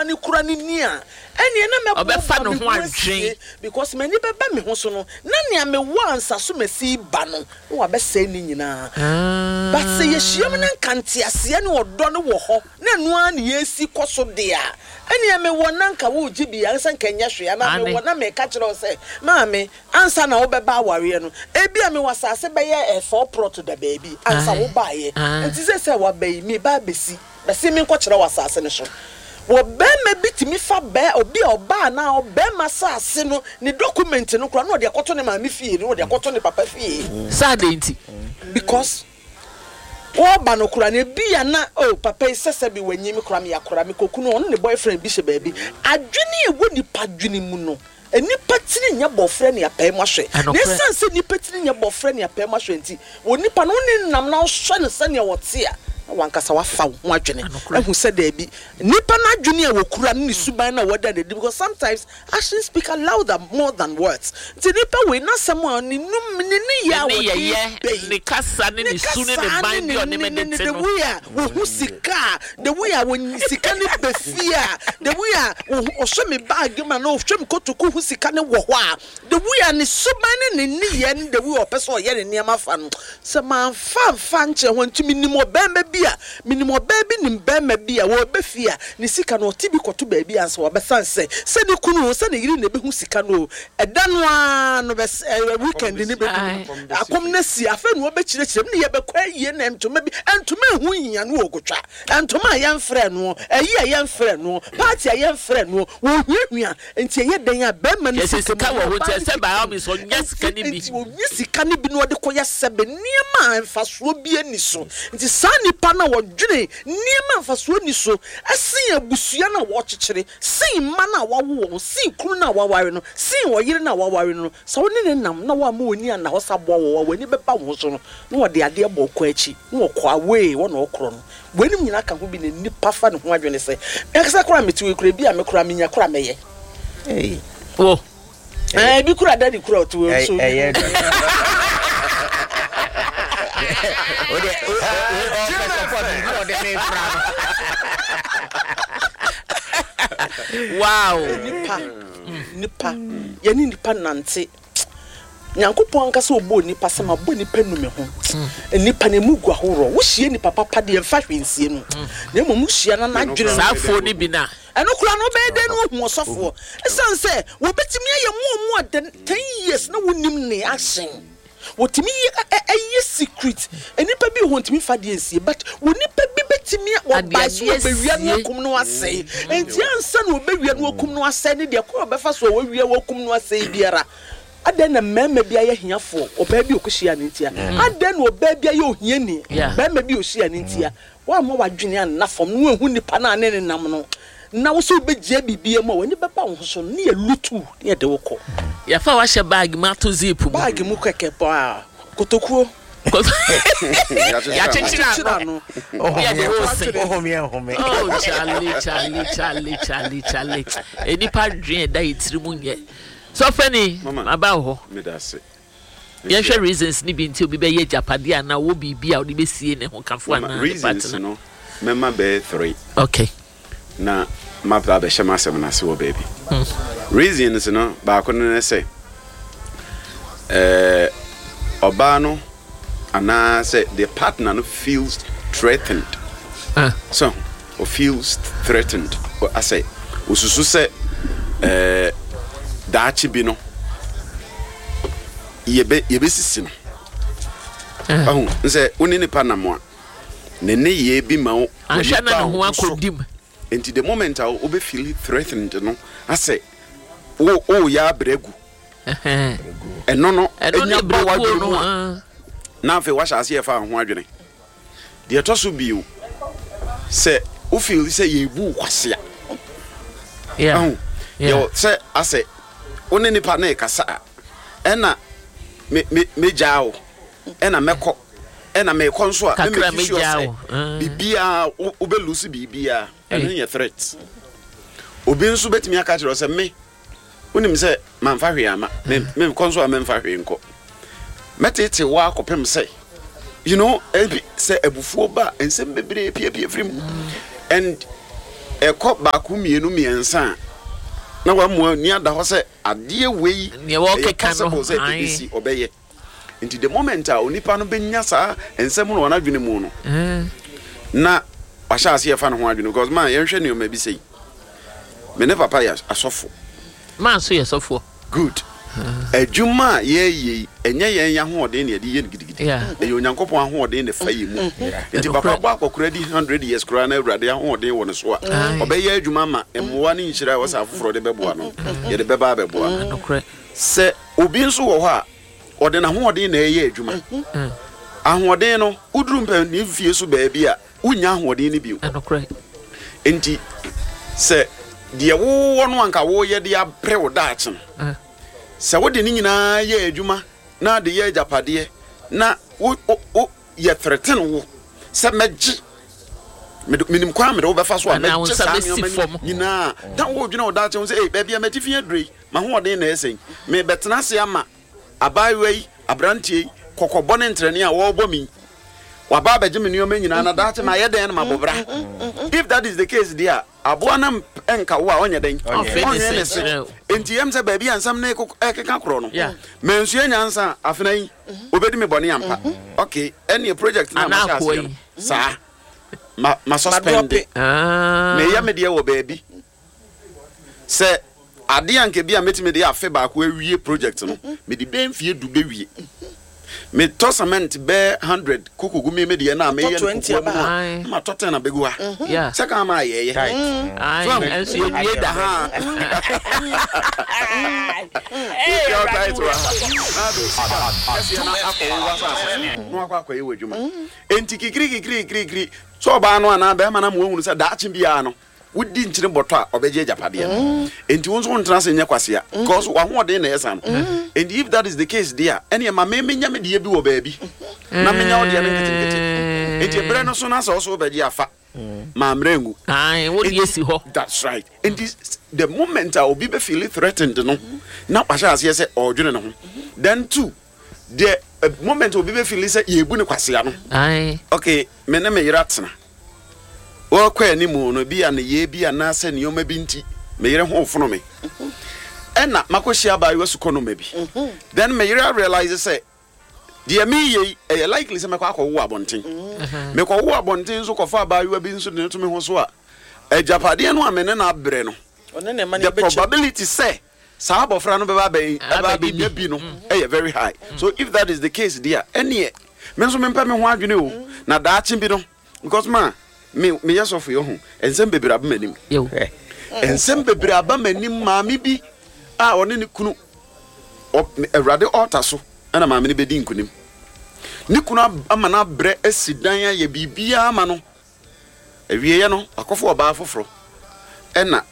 nipa no kura no ni a, ɛneɛ na mɛboaboa Ɔbɛfa ne me ho ho asie adwen. because m'ani bɛba me ho so no, na nea mewɔ ansa so masi ba no, na wabɛsɛe ne nyinaa. But sɛ yɛhyiam na nka nteaseɛ ne ɔdɔ no wɔ hɔ na ɛno ara na yɛresi kɔ so deɛ a, ɛneɛ mewɔ na nka woregye bi a, sɛ nka ɛnyɛ hwee anaa Aane. mewɔ na meka kyerɛ wo sɛ, maame, ansa na wobɛba awareɛ no, ebia mewɔ asase bɛyɛ 4 plot da baabi ansa wobaeɛ. Nti seesei a woaba yi, mereba abɛsi. Bɛse menkɔkyerɛ wo asase no so. Wɔ barima bi tumi fa bɛ obi a ɔbaa anaa ɔbarima asase no ne document no koraa na ɔde akɔto ne maame fie na ɔde akɔto ne papa fie. Sɛ adɛn nti? Because wɔreba no koraa no ebia na oh papa yi sɛ sɛbi wanyi me koraa meyɛ akwadaa mekɔku no ɔno ne boyfriend bi hyɛ baabi. Adwene a ɛwɔ nipa adwene mu no nnipa tiri nyɛ bɔfrɛ ne apɛɛ mu ahwɛ. Na Ɛnokorɛ. ɛsiane sɛ nnipa tiri nyɛ bɔfrɛ ne apɛɛ mu ahwɛ nti, wɔ nipa no wo ne no nam na wohwɛ no sɛnea ɔte a, na w'ankasa woafa wo ho adwene Ɛnokorɛ. ahu sɛ daabi, nipa no adwene a wɔkura ne ne suban no a wɔda no adi because sometimes actions speak louder more than words. Nti nipa wei n'asɛm a ne num ne nneyɛɛ a Ne wɔde nneyɛeɛ, ba yi, ne kasa ne ne ne su ne ne kasa ban ne bi a ne ɔne ne me ne de ne te the no. way a wɔhu sika a, the way a wɔn sika no ba fie a, the way a wɔhu ɔhwɛ me bag mu anaa ɔhwɛ me kotoku hu sika no wɔ hɔ a, the way a ne suban ne ne nneyɛɛ ne the way a ɔpɛ sɛ ɔyɛ ne nneɛma fa no, sɛ mamfa amfa ankyerɛ hɔ nti menim ɔbarima bi a, menim ɔbaa bi nim barima bi a wɔreba fie a, ne sika no ɔte bi kɔto baabi ansa wabɛsan sɛ, sɛ ne kunu o, sɛ ne yere na ɛbɛhu sika no o, ɛda no ara no bɛs ɛɛ weekend no bɛdu no, akɔm no asi, afei na wɔbɛkyerɛkyerɛ mu ne yɛbɛkɔ ayie na ntoma bi, ntoma ɛho nhia no ɔkɔtwa, ntoma a yɛmfrɛ noɔ, ayi a yɛmfrɛ noɔ, party a yɛmfrɛ noɔ, wɔhuahua, nti ɛyɛ dɛn a barima no Kyerɛ sɛ sika sika mu wɔ anaa hɔ nti ɔbaa no ɛsɛ sika by all mu, means ɔnya sika nti no bi. nti ɔnya sika no bi na ɔde kɔyɛ sɛbe nneɛma a mfasoɔ bi ani so. Nti saa nipa no a ɔdwene nneɛma a mfasoɔ nni so sen abusua no a wɔkyekyere, sen mma no a wawo wɔn, sen kunu no a waware no, sen ɔyere no a waware no no, sɛ wo ne no nam na woamma w'ani anna hɔ sɛ aboa wɔ hɔ a, w'ani bɛba wo ho so no, na wɔde adeɛ bɔ wo kɔn akyi, na wɔkɔ away hɔ na wɔkorɔ no. Weinom nyinaa ka ho bi na nnipa fa ne ho adwene sɛ, me ankasa koraa mete wei koraa, ebi a me koraa menya koraa mɛyɛ. Ei. Wo. Ɛɛ, ebi koraa daddy koraa ɔte wei nso. Ɛyɛ dɛ. O de o o ɔpɛ support nti na ɔde me fra no. Wow. Nipa, nipa, yɛne nipa nante. Nyankopɔn ankasa ɔbɔɔ nipa sɛ mabɔ nipa nu me ho. Nipa no emu gu ahoroɔ. Wohyia nipa papa deɛ mfa hwee nsie no. Na mmom wohyia na n'adwene no. Saa afuo no bi na. Ɛno koraa no wobɛyɛ dɛn na woahu ɔsɔfoɔ? Ɛsiane sɛ wɔbɛtumi ayɛ more more than 10 years na wonim ne action. Wɔtumi yɛ ɛyɛ secret. Nnipa bi wɔ hɔ ntumi fa deɛ nsie but wɔ nipa bi bɛtumi wɔbae so wɔbɛwia no akum no asɛe. Nti ansa na wɔbɛwia no akum no asɛe ne deɛ kwan a wɔbɛfa so a wɔawia wɔakum no asɛe biara. Adɛn na mmarima bi ayɛ hiafoɔ ɔbaa bi a ɔkɔhyia ne ntia? Adɛn na ɔbaa bi ayɛ ohiani barima bi a ɔhyia ne ntia? Woamma w'adwene anna fam na woanhu nipa no a ne ne nam no na wo sɛ wobɛgyia biribiara mu a w'ani bɛba wo ho so no ne yɛ lutu ne yɛde wo kɔ. Yɛfa wahyɛ bag mu ato zip mu. Bag mu kɛkɛ paa kotokuo. Yɛakyekyere ano. Yɛde wo se. Ohome nhome. Oh Charlie Charlie Charlie Charlie Charlie. Enipa dwen ɛda yɛ tiri mu nyɛ. Sɔfɛni maba wɔ hɔ. Meda ase. Yɛnhwɛ reasons ni bi nti obi bɛyɛ agyapadeɛ anaa ɔwɔ biribi a ɔde bɛsie ne ho kafo anaa ne Reasons partner. no mɛma bɛyɛ three. Na maba abɛhyɛ m'asɛm no ase wɔ baabi. Reasons no baako no ne sɛ ɔbaa no anaasɛ the partner no feels threatened. So o feels threatened asɛ osusu sɛ daakye bi no yɛbɛ yɛbɛsisi no. Ɔho sɛ wo ne nipa nam a ne nneyɛɛ bi ma wo Anhwɛ w'ani na ba ne ho wo ho so. akɔdi mu. Nti the moment a wobɛ feel threatened no asɛ wo woyɛ abrɛ agu. Ɛno no Ɛno ne nya ba berɛguo w'adwene no. mu a na afei wahyɛ aseɛ fa ho adwene. Deɛ ɛtɔ so bio sɛ wo feel sɛ yɛbu wo kwasea. Ɛho yɛwɔ sɛ asɛ wo ne nipa no rekasa a ɛna me me megyaa wo ɛna mɛkɔ ɛna mekɔ nso a Kakra mɛ make sure megyaa sɛ wo. Biribiara wobɛ lose biribiara ɛno yɛ threat. Obi nso bɛtumi aka kyerɛ wo sɛ me wonim sɛ mamfa hwee ama me mekɔ nso a memfa hwee nkɔ mɛtete wo akɔpem sɛ ebi sɛ abufuo ba a nsɛm bebree piapia firi mu and Ɛkɔ baako mmienu mmiɛnsa a, na wamua ani ada hɔ sɛ adeɛ wei Nea ɛyɛ wɔkeka no, possible sɛ ae. ɛbɛsi, ɔbɛyɛ. Nti the moment a onipa no bɛnya saa nsɛm no wɔ n'adwene mu no, na wahyɛ aseɛ fa ne ho adwene because man yɛnhwɛ nneɛma bi sei. Me ne papa yɛ asɔfo. Man nso yɛ sɔfoɔ. Good. Adwuma a yɛreyɛ yi, ɛnyɛ yɛn ahoɔden na yɛde yɛ no gidigidi. Ɛyɛ Onyankopɔn ahoɔden na ɛfa yɛn mu. Nti papa bɔ akɔkora di 100 years koraa na Awurade ahoɔden wɔ ne so a, ɔbɛyɛ adwuma ama mmoa ne nhyira a ɛwɔ sɛ afoforɔ de bɛboa no, yɛde bɛba abɛboa no. Sɛ obi nso wɔ hɔ a, ɔde n'ahoɔden na ɛreyɛ adwuma. Ahoɔden no, woduru mpanin fie so baabi a, wonnya ahoɔden no bio. Enti sɛ deɛ wowɔ no anka woreyɛ de abrɛ wo daakye no, sɛ wode ne nyinaa yɛ adwuma na de yɛ agyapadeɛ na wo wo wo yɛ threaten wo sɛ mɛgye mede menim kwan a mede wo bɛfa so a Anaa wo mɛgye nsa saa bɛsi nneɛma fam. no nyinaa na wodwene wo daakye ho sɛ ei baabi a m'atifi aduru yi m'ahoɔden na ɛsɛn mebɛtena ase ama Abaayewa yi, aberanteɛ yi, kɔkɔbɔ ne ntrɛnee a wɔrebɔ me yi, waba abɛgye me nneɛma nyinaa na daakye mayɛ dɛn na mabɔ bra? If that is the case deɛ a, aboa no nka wo a ɔnyɛ dɛn? Ɔnwene ne se. Enti ɛm sɛ baabi a nsɛm no rekeka korɔ no, mansua nyansa a, afena yi, ɔbɛdi me bɔne ampa. Okay, ɛnneɛ project no a mahyɛ aseɛ no, saa, ma, ma suspend. Meyɛ me deɛ wɔ baabi. Sɛ adeɛ a anka bi a mɛtumi de afe baako awie project no, mede bɛyɛ mfeɛ du bɛwie. Metɔ cement bɛyɛ 100 kɔkɔgu me me deɛ no a meyɛ no kokoa mu no a, na matɔ 10 abɛgu ha. Sɛ kan ma ayɛyɛ. So ahu? Ɛnso yɛnwie da. Wotua wo tithe wɔ ha, na ade wo sika kɛseɛ no akɔ wo w'asase so na wakɔ akɔyɛ w'adwuma. Enti kikiri kikiri kikiri, sɛ ɔbaa no anaa bɛrima no ama wahunu sɛ daakye biara no, Wodi nkyene bɔtɔ a, ɔbɛgye agyapadeɛ no. Enti wo nso wontena ase nyɛ kwasea. Because w'ahoɔden na ɛyɛ saa no. Enti if that is the case deɛ a, ɛneɛ ma me menya me deɛ bi wɔ baabi na menya wo deɛ no nketenkete. Enti ɛberɛ no so na sɛ wo nso wobɛgye a, fa. Ma mmerɛ ngu. Ae, wo deɛ si hɔ. That's right. Enti the moment a obi bɛ feel threatened no, na wahyɛ aseɛ sɛ ɔredwene ne ho. Then two, the moment obi bɛ feel sɛ yɛrebu no kwasea no, okay, me ne me yere atena. Wɔrekɔ anim no, ebia nneyɛe bi anaasɛ nneɛma bi nti, me yere ho refono me. Ɛnna makɔhyia abaayewa sukɔnoma bi. Then me yere arealise sɛ deɛ mereyɛ yi, ɛyɛ likely sɛ mɛkɔ akɔwo wɔ abɔnten. Mekɔwo wɔ abɔnten nso kɔfa abaayewa bi nso de no to me ho so a, agyapadeɛ no a me ne no abrɛ no, the probability sɛ saa abɔfra no bɛba abɛn ɛba abɛnya bi no ɛyɛ very high. So if that is the case deɛ a, ɛnneɛ me nso mempɛ me ho adwene o, na daakye bi no, Because ma me meyɛ sɔfo yi ɔho nsɛm bebree aba m'anim. Nsɛm bebree aba m'anim maame bi a ɔne ne kunu Awurade altar so ɛna maame no bɛdi nkunim. Ne kunu ama no abrɛ asi dan ayɛ biribiara ama no. Awieɛ no wakɔfa ɔbaa foforɔ ɛna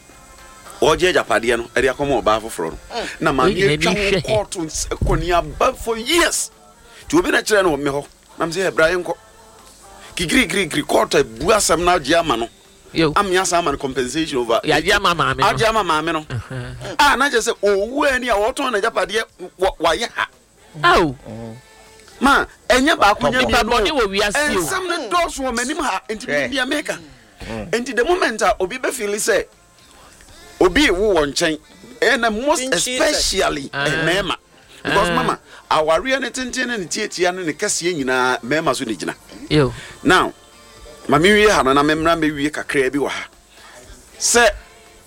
ɔregye agyapadeɛ no ɛde akɔma ɔbaa foforɔ no. Na maame atwa ho kɔɔto kɔneaba for years. Nti obi na kyerɛ no wɔ me hɔ. Na me sɛ, bra yɛnkɔ. Kikirikirikiri court abu asɛm no agye ama no. Ame asan ama no compensation over. Yagye ama maame no. Agye ama maame no. A na kyerɛ sɛ owu ani a wɔtɔn n'agyapadeɛ wayɛ ha. Aw. Ma ɛnyɛ baako nyɛ mmienu. Nipa bɔne wɔ wiase o. Nsɛm no dɔɔso wɔ m'anim ha nti menim deɛ meka. Nti the moment a obi bɛ feel sɛ obi rewo wɔ nkyɛn ɛna most especially mmarima because mama awareɛ ne tenten ne ne tiatia ne ne kɛseɛ nyinaa mmarima so ne gyina. Now ma menwie ha no na memmra mɛwie kakraa bi wɔ ha sɛ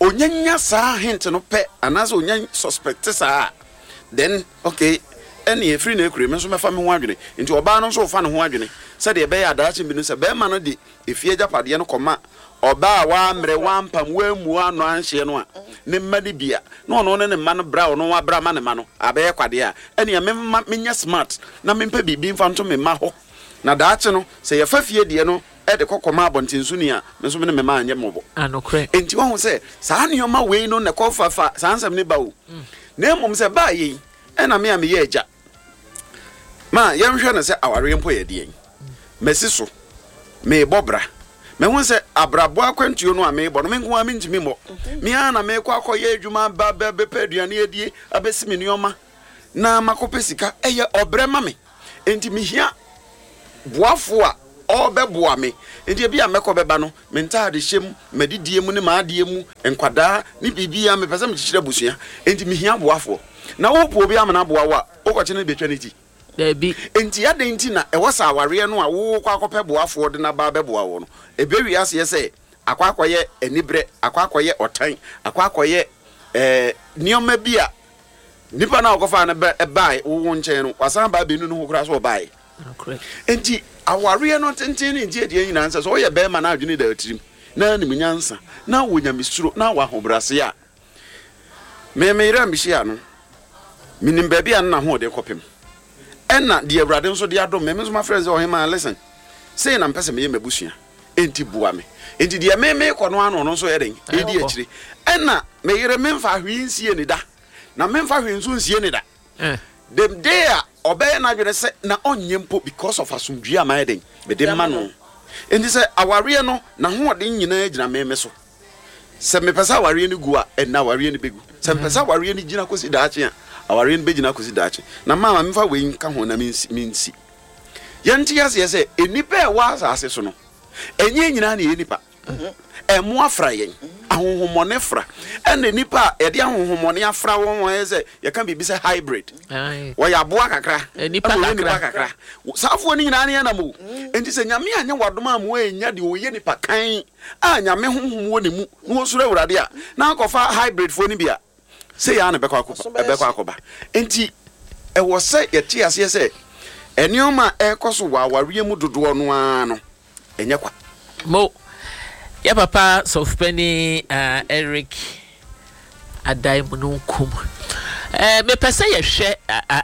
onyanya saa hint no pɛ anaasɛ onya suspect saa a then okay ɛne ɛfiri na ɛkure me nso mɛfa me ho adwene nti ɔbaa no nso ɔfa ne ho adwene sɛdeɛ ɛbɛyɛ adaakye bi no sɛ bɛrima no de Efie agyapadeɛ no kɔma ɔbaa a wammrɛ, wampam, wammu ano anhyeɛ no a, ne mma no bi a, na ɔno ne ne mma no brɛ a ɔno wabrɛ ama ne mma no abɛyɛ kwadeɛ a, ɛnneɛ memma menyɛ smart na mempɛ biribi mfa nto me mma hɔ, na daakye no, sɛ yɛfa fie deɛ no de kɔ kɔma abɔntensoni a, me nso me ne me mma anyɛ mmɔbɔ. Enti woahu sɛ saa nneɛma wei no na ɛkɔfafa saa nsɛm no ba o. Na mmom sɛ ɛbaa yei, ɛna me a meyɛ agya, Ma yɛnhwɛ no sɛ awareɛ mpo yɛ deɛn. Masi so, merebɔ bra. Mahu sɛ abrabɔ akwantuo no a merebɔ no, me nko ara mentumi mmɔ. Me ara na merekɔ akɔyɛ adwuma aba abɛpɛ aduane adie, abɛsi me nneɛma na makɔpɛ sika. Ɛyɛ ɔbrɛ ma me. Enti mehia boafoɔ a. ɔrebɛboa me. Enti ebia mɛkɔ bɛba no, me ntaadehyɛ mu, m'adidie mu ne m'adeɛ mu, nkwadaa ne biribiara, mepɛ sɛ mekyekyere abusua. Enti mehia boafoɔ. Na wopɛ obi ama no aboa wo a, wokɔkye no de bɛtwa ne ti? Dabi. Enti adɛn nti na ɛwɔ sɛ awareɛ no a worekɔ akɔpɛ boafoɔ de no aba abɛboa wo no, ɛbɛwie aseɛ sɛ akɔ akɔyɛ aniberɛ, akɔ akɔyɛ ɔtan, akɔ akɔyɛ ɛɛ nneɛma bi a nipa no a ɔkɔfaa no bɛ bae wo wo nkyɛn no, wasan aba abɛnu ne ho koraa sɛ ɔbaeɛ. Enti awareɛ no tenten ne ntiatia nyinaa nsɛ sɛ woyɛ barima na adwene da wo tirim, na anim nyansa, na wɔ nyamesuro, na wɔ ahobrɛaseɛ a, me me yere a mehyia no, menim baabi a na n'ahoɔden kɔpem. Ɛna deɛ Awurade nso de adom me, me nso mafrɛ no sɛ ɔhemaa, listen, sei na mepɛ sɛ meyɛ m'abusua. Enti boa me. Enti deɛ me mekɔ no ara na ɔno nso yɛ dɛn? Ɛredi akyire. Ɛna me yere memfa hwee nsie ne da, na memfa hwee nso nsie ne da. The day a ɔbɛyɛ n'adwene sɛ na ɔnyɛ mpo because of asomdwie a mayɛ dɛn? Mede ma no. Enti sɛ awareɛ no n'ahoɔden nyinaa gyina me me so. Sɛ mepɛ sɛ awareɛ no gu a, ɛnna awareɛ no bɛgu. Sɛ mepɛ sɛ awareɛ no gyina kɔsi daakye a, awareɛ no bɛgyina akɔsi daakye. Na ma memfa wei nka ho na mensi. mensi. Yɛnte aseɛ sɛ nnipa a ɛwɔ asase so no, ɛnyɛ yɛn nyinaa na ɛyɛ nnipa. Ɛmo afra yɛn, ahonhommɔne fra. Ɛna nnipa a yɛde ahonhommɔne afra wɔn wɔn ayɛ sɛ yɛka biribi sɛ hybrid. Wɔyɛ aboa kakra, ɛna wɔyɛ nipa kakra. Saafoɔ no nyinaa ne yɛnam o. Enti sɛ Nyame anyɛ wadom a mo annya deɛ ɔyɛ nipa kan a Nyame honhom wɔ ne mu na ɔsuro Awurade a, na akɔfa hybridfoɔ no bi a, Sei ara na ɛbɛkɔ akɔba, ɛbɛkɔ akɔba. Enti, ɛwɔ sɛ yɛte aseɛ sɛ nneɛma a ɛrekɔ so wɔ awareɛ mu dodoɔ no ara no, ɛnyɛ kwa. Mo, yɛ papa sɔfopanin uh, Eric Adai Mununkum. Eh, mepɛ sɛ yɛhwɛ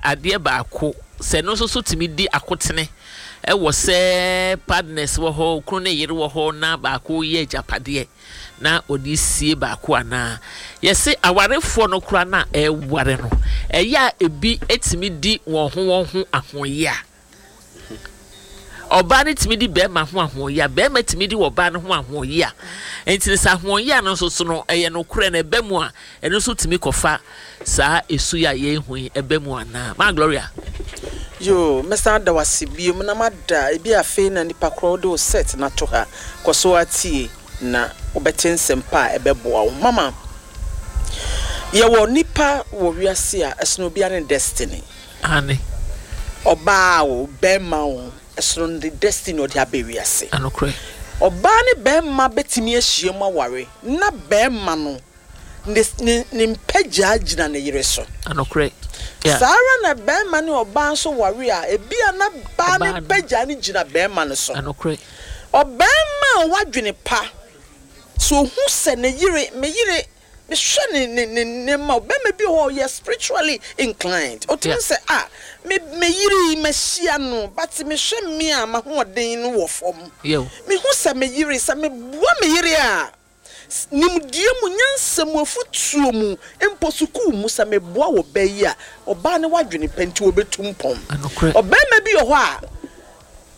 adeɛ baako sɛ no nso so tumi di akotene ɛwɔ sɛ partners wɔ hɔ, okunu ne yere wɔ hɔ na baako yɛ agyapadeɛ. na ɔde sie baako anaa? Yɛse awarefoɔ no koraa no a ɛreware no, ɛyɛ a ebi tumi di wɔn ho wɔn ho ahoɔyea. Ɔbaa no tumi di bɛrima ho ahoɔyea, bɛrima tumi di ɔbaa no ho ahoɔyea. Nti no sɛ ahoɔyea no nso so no ɛyɛ nokorɛ na ɛba mu a, ɛno nso tumi kɔfa saa esu yi a yɛrehu yi ɛba mu anaa? Maa Gloria. Yoo, mɛsan ada wo ase biom na mada, ebia afei na nipa korɔ wode wo set no ato ha, kɔ so ara tie na wobɛte nsɛm pa a ɛbɛboa wo. Mama, yɛwɔ nipa wɔ wiase a ɛsono obiara ne destiny. Aane. Ɔbaa o, bɛɛma o, ɛsono ne destiny a ɔde aba wiase. Anokorɛ. Ɔbaa ne bɛɛma bɛtumi ahyiam aware na bɛɛma no ne ne ne mpagyaa gyina ne yere so. Nokorɛ, yeah. Saa ara na barima ne ɔbaa nso ware a, ebia na baa no mpagyaa no gyina barima no so. Nokorɛ. Ɔbarima a ɔwɔ adwene pa, sɛ ɔhu sɛ ne yere, me yere, mehwɛ ne ne ne nneɛma, ɔbarima bi wɔ hɔ a ɔyɛ spiritually inclined, ɔtumi hu sɛ ah, me me yere yi mahyia no, but mehwɛ me a m'ahoɔden no wɔ fam. Mehu sɛ me yere, sɛ meboa me yere a, Nimdeɛ mu, nyansa mu, afotuo mu, mpo sukuu mu, sɛ meboa wɔ bɛ yi a, ɔbaa no w'adwene pa nti ɔbɛtu mpɔn. Ɔbarima bi wɔ hɔ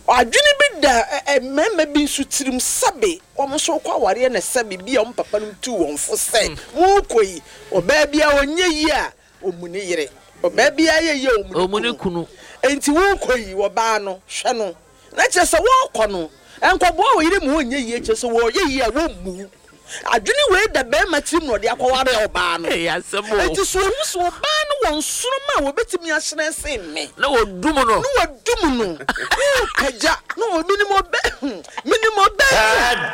a, adwene bi da mmarima bi nso tirim sɛbe wɔn nso rekɔ awareɛ na sɛbe bi a wɔn papa nom tuu wɔn fo sɛ morekɔ yi, ɔbaa biara ɔnyɛ yie a, ɔmmu ne yere. Ɔbaa biara yɛ yie a, ɔmmu ne kunu. Enti worekɔ yi, ɔbaa no, hwɛ no. Na kyerɛ sɛ wɔrekɔ no, nkɔboa wo yere ma ɔnyɛ yie, kyerɛ sɛ wɔreyɛ yie a wɔmmu wo. Adwene wei da barima tirim na ɔde akɔware ɔbaa no. Enti sɛ ɔhu sɛ ɔbaa no wɔ nsoromma a wɔbɛtumi ahyerɛn sen me, Na wɔdum no. Na wɔdum no, worepagya, na ɔ, menim ɔbɛ, menim ɔbaa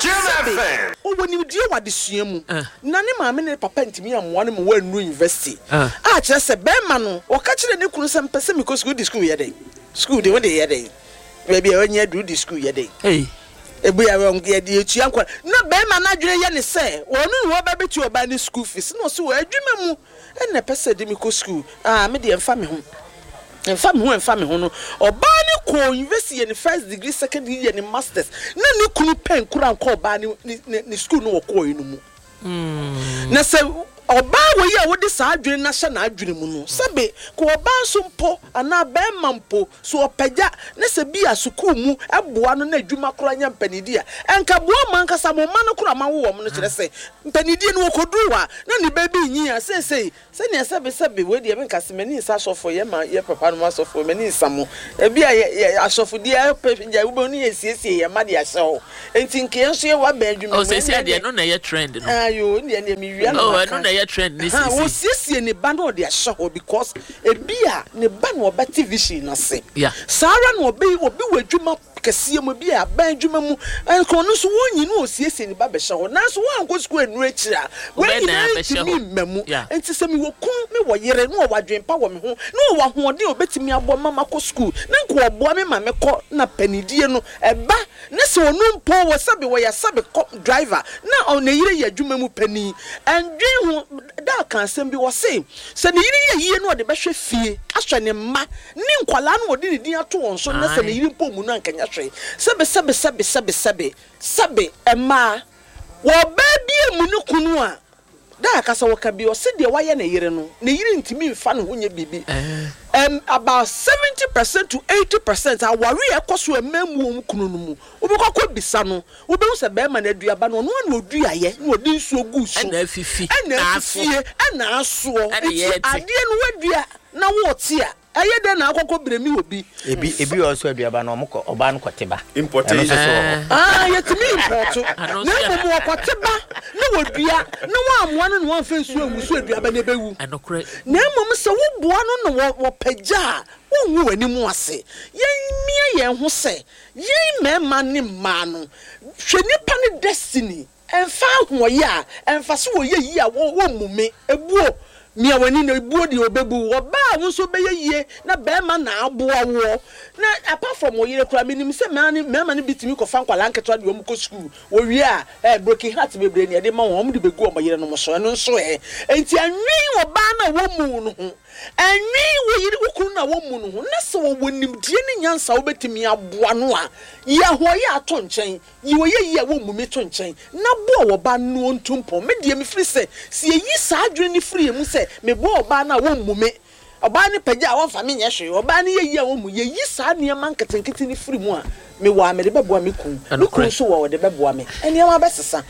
bi a, sɛbe, ɔwɔ nimdeɛ wɔ adesua mu, na ne maame ne ne papa ntumi ammoa no ma wannuru university, a kyerɛ sɛ barima no, ɔka kyerɛɛ ne kunu sɛ, mepɛ sɛ mekɔ sukuu, wode sukuu yɛ dɛn? Sukuu de, wode yɛ dɛn? Baabi a wanya aduru de sukuu yɛ dɛn? Ebi a yɛde etua nkwa. Na bɛrima no adwene yɛ ne sɛ ɔno na ɔba bɛtua ɔbaa no sukuu fees. Na ɔse wɔ adwuma mu ɛna ɛpɛ sɛ ɛde me kɔ sukuu. Ah, me deɛ ɛmfa me ho. Ɛmfa me ho, ɛmfa me ho no. Ɔbaa no kɔɔ university yɛ ne first degree, second degree, yɛ ne masters. Na ne kunu pɛn kura nkɔ ɔbaa no ne ne sukuu no ɔkɔɔɛ no mu. Na sɛ. Ɔbaa wei a wode saa adwene no ahyɛ n'adwene mu no, sɛbe, ka ɔbaa nso mpo anaa barima mpo, so ɔpagya na sɛ bi a sukuu mu boa no na adwuma koraa nya mpanidie a, ɛnka boa mo ankasa mo mma no koraa moawo wɔn no, kyerɛ sɛ, mpanidie no wɔkɔduru hɔ a, na ne ba bi renyin a, seesei Sɛnea sɛbe sɛbe, wei deɛ menka sɛ m'ani nsa asɔfoɔ, yɛ ma yɛ papa nom asɔfoɔ, m'ani nsa mo. Ebi a yɛ yɛ asɔfodie apɛ gya wobɛhu ne yɛsiesie yɛn mma de ahyɛ hɔ. Enti nka yɛn nso yɛwɔ abɛn adwuma Oh, mu, seesei ɛnneɛ deɛ deɛ ɛno na ɛyɛ trend no. Ayo, ɛnneɛ deɛ mewia na Oh, maka. ɛno na ɛyɛ trend no Ahaa, seesei. wɔsiesie ne ba na ɔde ahyɛ hɔ because ebi a ne ba na ɔbɛte vision no ase. Yeah. Saa ara na ɔbɛ obi wɔ adwuma kɛseɛ mu, ebia aban adwuma mu, nka ɔno nso wɔnyi na ɔsiesie ne ba bɛhyɛ hɔ. Nanso woankɔ sukuu annuru akyiri a, wei Wobɛyɛ dɛn nyinaa abɛhyɛ ntumi hɔ? mma mu. Yeah. Enti sɛ mewɔ kunu, mewɔ yere, na ɔwɔ adwene pa wɔ me ho, na ɔwɔ ahoɔden a ɔbɛtumi aboa me ma makɔ sukuu, na nka ɔboa me ma mekɔ na panidie no ɛba, na sɛ ɔno mpo wɔ sɛbe wɔyɛ sɛbe kɔ driver, na ɔ ne yere yɛ adwuma mu panin, ɛndwen ho. Da ka asɛm bi, ɔse sɛ ne yere yɛ yie na ɔde bɛhwɛ fie, ahwɛ ne mma, Ne nkwadaa no wɔde ne din ato wɔn so na sɛ ne yere mpo mmu no anka nyɛ hwee. Sɛbe sɛbe sɛbe sɛbe sɛbe sɛbe mmaa wɔ ɔbaa bi ammu ne kunu a da akasa wɔka bi ɔse deɛ wayɛ ne yere no ne yere ntumi nfa ne ho nyɛ biribi ɛm about 70% to 80% aware a ɛkɔ so a mmaa mmu wɔn kunu no mu wobɛkɔ akɔ bisa no wobɛhu sɛ bɛrima no aduaba no ɔno ara na ɔduaeɛ na ɔde nsuo guu so Ɛna afifi ɛna na aso. afifie ɛna asoɔ Ɛna nti yɛte. adeɛ no wadua na wote a ɛyɛ dɛn na akɔkɔ brɛmi obi. Ebi ebi wɔ hɔ nso aduaba no ɔmo kɔ ɔbaa no kɔte ba. Ɛno Importation. nso so wɔ hɔ. Ah yɛtumi impɔɔto Ano na nso yɛ mmom wɔkɔte ba na wɔdua na wɔammoa no na wɔamfa nsuo angu so aduaba no ɛbɛwu. Ɛnokorɛ. Na mmom sɛ woboa no na wɔpagya a wongu w'anim ase. Yɛmmia yɛn ho sɛ Yɛn mmarima ne mmaa no, hwɛ nipa no destiny, ɛmfa ahoɔyɛ a, ɛmfa sɛ wɔyɛ yie a wɔmmu me, ɛbuo, mia w'ani na ɛbuo deɛ ɔbɛbu wo, ɔbaa a wo nso wobɛyɛ yie na barima na aboa woɔ, na apart from wo yere koraa, menim sɛ mmaa no mmarima no bi tumi kɔfa nkwadaa nketewa de wɔn kɔ sukuu, wɔwie a, eh, broken heart bebree na yɛde ma wɔn, wɔde bɛgu wɔn yerenom so, ɛno nso ɛ, enti ɛnwen ɔbaa no a wɔmmu wo no ho. Nnwen wo yere, wo kunu no a wommu no ho, na sɛ ɔwɔ nimdeɛ ne nyansa a wobɛtumi aboa no a, yi ahoɔyɛ a to nkyɛn, yi ɔyɛyie a wommu me to nkyɛn, na boa ɔbaa no na ɔntu mpɔn. Me deɛ, mefiri sɛ, sɛ yɛyi saa adwene no firi yɛn mu sɛ, meboa ɔbaa no a wommu me, ɔbaa no pagya a ɔmfa me nyɛ hwee, ɔbaa no yɛ yie a wommu, yɛyi saa nneɛma nketenkete no firi mu a, mewɔ a mede bɛboa me kunu, me kunu nso wɔ a ɔde bɛboa me. Nneɛma bɛsesa.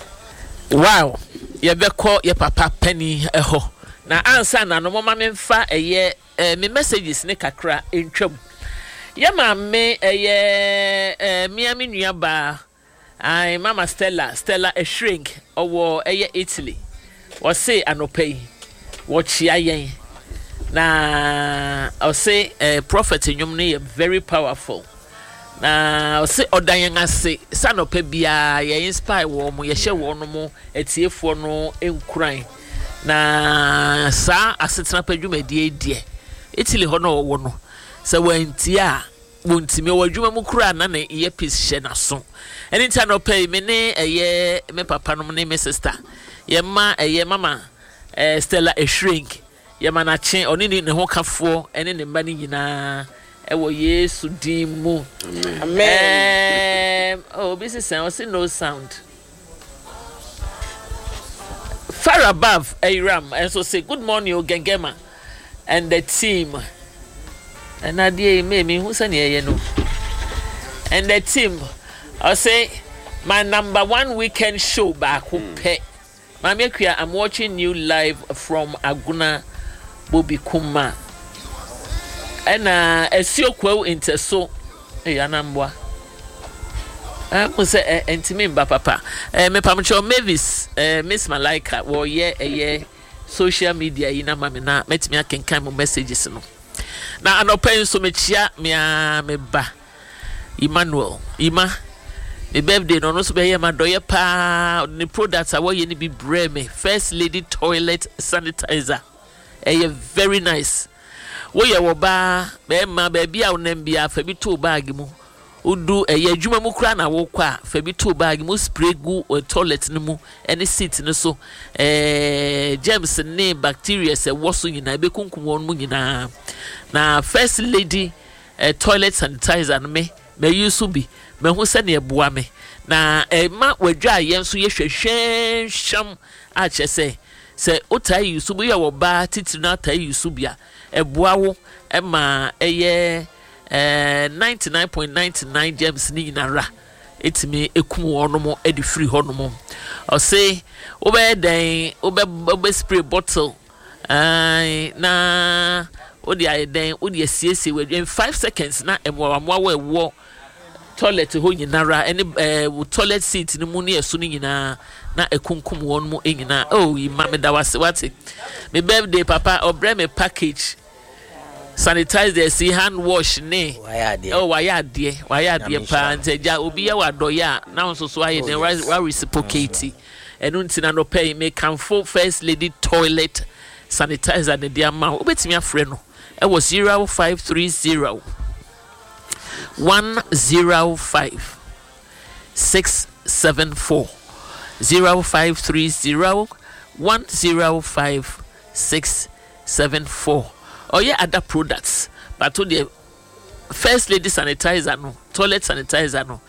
Wow! Yɛbɛkɔ yɛ papa panin hɔ. Na ansa na no momma memfa ɛyɛ eh, me messages ne kakra ntwam. Yɛ maame ɛyɛ eh, mea me nua baa, ae, Mama Stella, Stella Ehring, ɔwɔ ɛyɛ Italy. Ɔse anɔpa yi, wɔkyea yɛn. Na ɔse eh, prophet nnwom no yɛ very powerful. Na ɔse ɔda yɛn ase sɛ anɔpa biara yɛ inspire wɔn, yɛhyɛ wɔn mo atiefoɔ no nkuran. Na saa asetena pa dwumadie yi deɛ, Italy hɔ na ɔwɔ no, sɛ wantie a, wɔntumi. Ɔwɔ adwuma mu koraa na ne earpiece hyɛ n'aso. Ɛno nti anɔpa yi, me ne ɛyɛ me papa nom ne me sister, yɛma ɛyɛ mama eh, Stella Ehring, yɛma no akye, ɔne ne ne ho kafoɔ ne ne mma no nyinaa ɛwɔ Yesu din mu. Amen. Um, oh, obi sesa, ɔse no sound. Far above Ayiram nso se good morning o Gengema and the team. Ɛna adeɛ yi mee mehu sɛnea ɛyɛ no. And the team ɔse my number one weekend show baako pɛ. Maame Akua I'm watching you live from Agona Bobikuma. Ɛna Asuo Kwawu Ntɛso Ei anamboa. Eh, mo sɛ eh, ntumi mba papa. Eh, mepamkyɛw Mavis, eh, Miss Malaika, wɔyɛ ɛyɛ social media yi na ma me na mɛtumi akenkan mo messages no. Na anɔpa yi nso mekyia me ara me ba Emmanuel. Ima, me birthday no ɔno nso bɛyɛ ma dɔyɛ paa. Ɔde ne products a wɔyɛ no bi brɛ me. First Lady toilet sanitizer. Ɛyɛ very nice. Woyɛ ɔbaa, bɛɛma, baabi a wonam biara fa bi to wo bag mu. Wodu ɛyɛ adwuma mu koraa na wokɔ a, fa bi to wo bag mu, spray gu toilet no mu ne seat no so. Ɛɛ germs ne bacteria ɛwɔ so nyinaa ɛbɛkunkum wɔn mu nyinaa. Na first lady eh, toilet sanitizer no me mayi so bi, mahu sɛnea ɛboa me. Na ɛma wadwaayɛ nso yɛ hwɛhwɛnhwɛm a kyerɛ sɛ. Sɛ wotaa use bi, woyɛ ɔbaa titiri na wotaa use bi a, ɛboa wo ma ɛyɛ 99.99 germs ne nyinara ɛtumi ɛkum wɔnom de firi hɔnom. Ɔse wobɛyɛ dɛn wobɛ wobɛ spray bottle ae na wode ayɛ dɛn wode asiesie w'adwa in 5 seconds na mmoawammoawa ɛwɔ toilet hɔ nyinara ɛne ɛɛ wo toilet seat no mu ne ɛso no nyinaa na ɛkunkum wɔn mu nyinaa. Oh yi ma meda wase wate me birthday papa ɔbrɛ me package sanitizer si hand wash ne oh wayɛ adeɛ wayɛ adeɛ paa nti agya obi yɛ wadɔyɛ a na nso so ayɛ dɛn oh, wa reciprocate ɛno nti na nɔpɛ yi mekamfo first lady toilet sanitizer ne de ama wo wobɛtumi afrɛ no ɛwɔ 0530 105 674 0530 105 674 Ɔyɛ other products but wo deɛ first lady sanitizer no toilet sanitizer no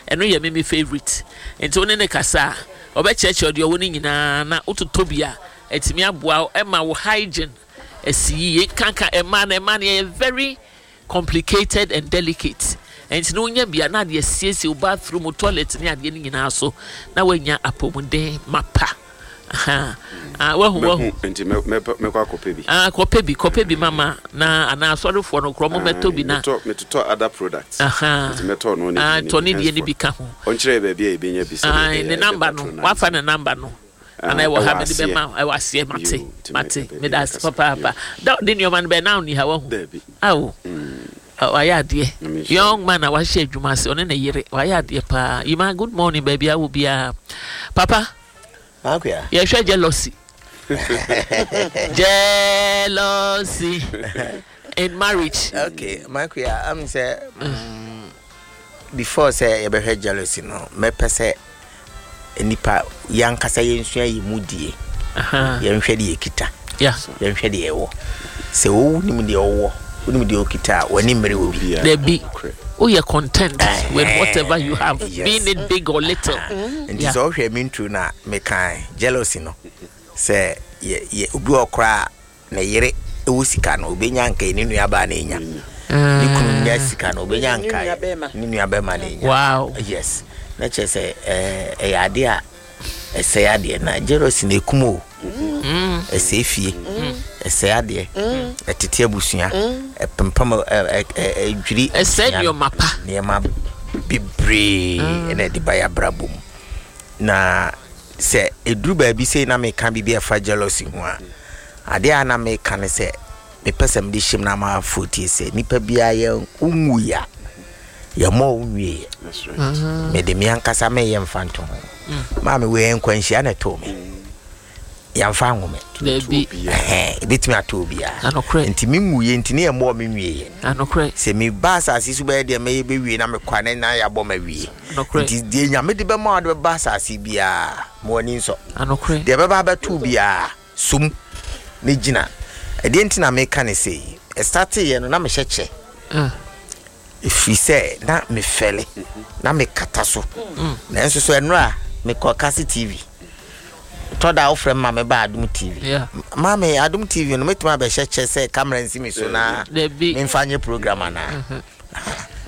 ɛno yɛ me me favourite nti wo ne ne kasa a ɔbɛkyerɛkyerɛ deɛ ɔwɔ no nyinaa na wototɔ bi a ɛtumi aboa wo ɛma wo hygiene asi yie nkanka ɛmaa no ɛmaa no yɛyɛ very complicated and delicate nti no wonya bi a na adeɛ asiesie wo bathroom wo toilet ne adeɛ no nyinaa so na woanya apɔmuden mapa ah wahu wahu nti mɛkɔ akɔpɛ bi ah kɔpɛ bi kɔpɛ bi mama na anaa asɔrefoɔ no korɔ mo mɛtɔ bi na metɔ metotɔ other products nti mɛtɔ no ne ah tɔ ne deɛ ne bi ka ho ɔnkyerɛ baabi a yɛbɛnya bi sɛ ne number no wafa ne number no Ana ɛwɔ ha mede bɛma wo ɛwɔ aseɛ mate mate meda ase papaapa da ɔde nneɛma no bɛn na ɔni ha wahu awo wayɛ adeɛ young man a wahyɛ adwuma ase ɔne ne yere wayɛ adeɛ paa yima good morning baabi awo biara papa yɛhwɛ jealousy jealousy in marriage. Okay makuya am sɛ mm, before sɛ yɛbɛhwɛ jealousy no mɛpɛ sɛ nipa yɛankasa yɛnsua yɛ mu die yɛnhwɛ deɛ yɛkita yɛnhwɛ deɛ yɛwɔ sɛ wonim deɛ ɔwɔ wonim deɛ ɔkita a w'ani mmere wɔ bi dabi woyɛ content with whatever you have yes. being it big or little nti sɛ wohwɛ me nturo no a mekae jealousy no sɛ yɛ obi wɔ koraa Ne yere wɔ sika no, obenya nka ne nuabaa na enya. Ne kunu nya sika no, obenya nka ne nuabɛrima na enya. Wow. Yes. Na kyerɛ sɛ ɛyɛ ade a ɛsɛe adeɛ na jealousy na ekum o. Mm. Ɛsɛe fie. Mm. Ɛsɛe adeɛ. Mm. Ɛtete abusua. Ɛpempam ɛdwiri. Ɛsɛe nneɛma pa. Nneɛma bebree ɛna ɛde ba yɛ abrabɔ mu. Na sɛ ɛduru baabi sei na meka biribi a ɛfa jealousy ho a, adeɛ a na meka ne sɛ mepɛ sɛ mede hyɛ mu na ama afoɔ tie sɛ nipa biara yɛ wonwui a yɛmmɔ wo nwieɛ. Mm-hmm. Mede me ankasa meyɛ mfa nto ho. Mm. Maame wei nkwanhyia na ɛtoo me. Yɛmfa anwo me. Dabi. Ɛbɛtumi ato obiara. Nti me nwuiɛ nti ne yɛmmɔɔ me nwieɛ. Sɛ meba asase so bɛyɛ deɛ mɛyɛ bɛwie na mekɔ a na na yɛabɔ ma wie. Nti deɛ Nyame de bɛma wode bɛba asase biara ma w'ani nsɔ. Deɛ ɛbɛba abɛto biara som ne gyina. Ɛdeɛ nti na meka ne sei. Ɛstarteeɛ no na mehyɛ kyɛ. Ɛfiri sɛ na mefɛle, na mekata so. Nanso so ɛnora mekɔ Kase TV. Tɔ da wofrɛ me ma meba Adom TV. Maame, Adom TV no mɛtumi abɛhyɛ kyɛ sɛ camera nsi me so na memfa nyɛ program anaa?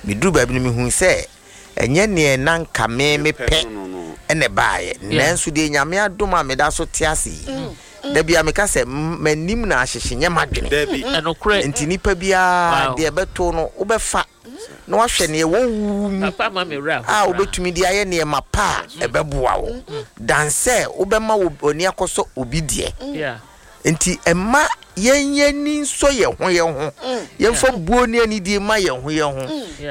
Meduru baabi no mehuu sɛ ɛnyɛ neɛ na nka me mepɛ na ɛbaeɛ. Nanso deɛ Nyame adom a meda so te ase yi, da biara meka sɛ m'anim na ahyehye nyɛ m'adwene. Nti nipa biara deɛ ɛbɛto no wobɛfa na wahwɛ neɛ ɛwɔ wo mu a wobɛtumi de ayɛ nneɛma pa a ɛbɛboa wo dan sɛ wobɛma w'ani akɔsɔ obi deɛ. Enti mma yɛn yɛn ani nsɔ yɛn ho yɛn ho, yɛmfa buo ne anidie mma yɛn ho yɛn ho,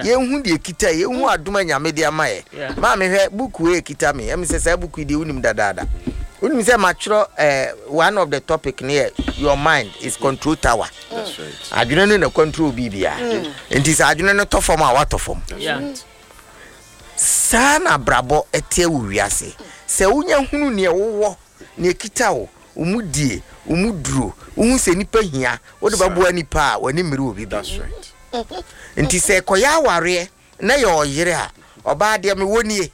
yɛnhu deɛ ɛkita yɛ, yɛnhu adom a Nyame de ama yɛ. Maame hwɛ book wei ɛkita me, ɛmi sɛ saa book yi deɛ wonim dadaada. Wonim sɛ matwerɛ eh, one of the topic no yɛ your mind is control tower. Adwene no na control biribiara. Nti sɛ adwene no tɔ fam a watɔ fam. Saa na abrabɔ ɛteɛ wɔ wiase. Sɛ wonya hunu neɛ wowɔ Nea ɛkita wo, wo mu die, wo mu duro, wohu sɛ nnipa hia, wode bɛboa nnipa a, w'ani mmere obi bio. Nti sɛ ɛkɔyɛ awareɛ na yɛ ɔyere a, ɔbaa deɛ mewɔ nie.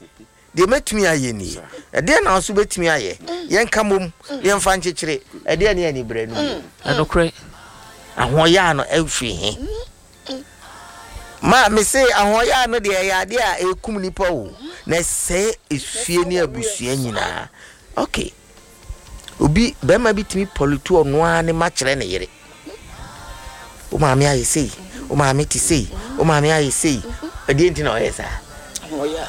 Deɛ mɛtumi ayɛ nie. Ɛdeɛn na wo nso wobɛtumi ayɛ? Yɛnka mmom na yɛmfa nkyekyere. Ɛdeɛn ne aniberɛ no mu? Ɛnokorɛ. Ahoɔyaa no firi he? Ma mese ahoɔyaa no deɛ ɛyɛ adeɛ a ɛkum nipa o, na ɛsɛe efie ne abusua nyinaa. Ok, obi bɛrima bi tumi pɔlutu ɔno ara ne ma kyerɛ ne yere. Wo maame ayɛ sei, wo maame te sei, wo maame ayɛ sei. Ɛdeɛ nti na ɔyɛ saa?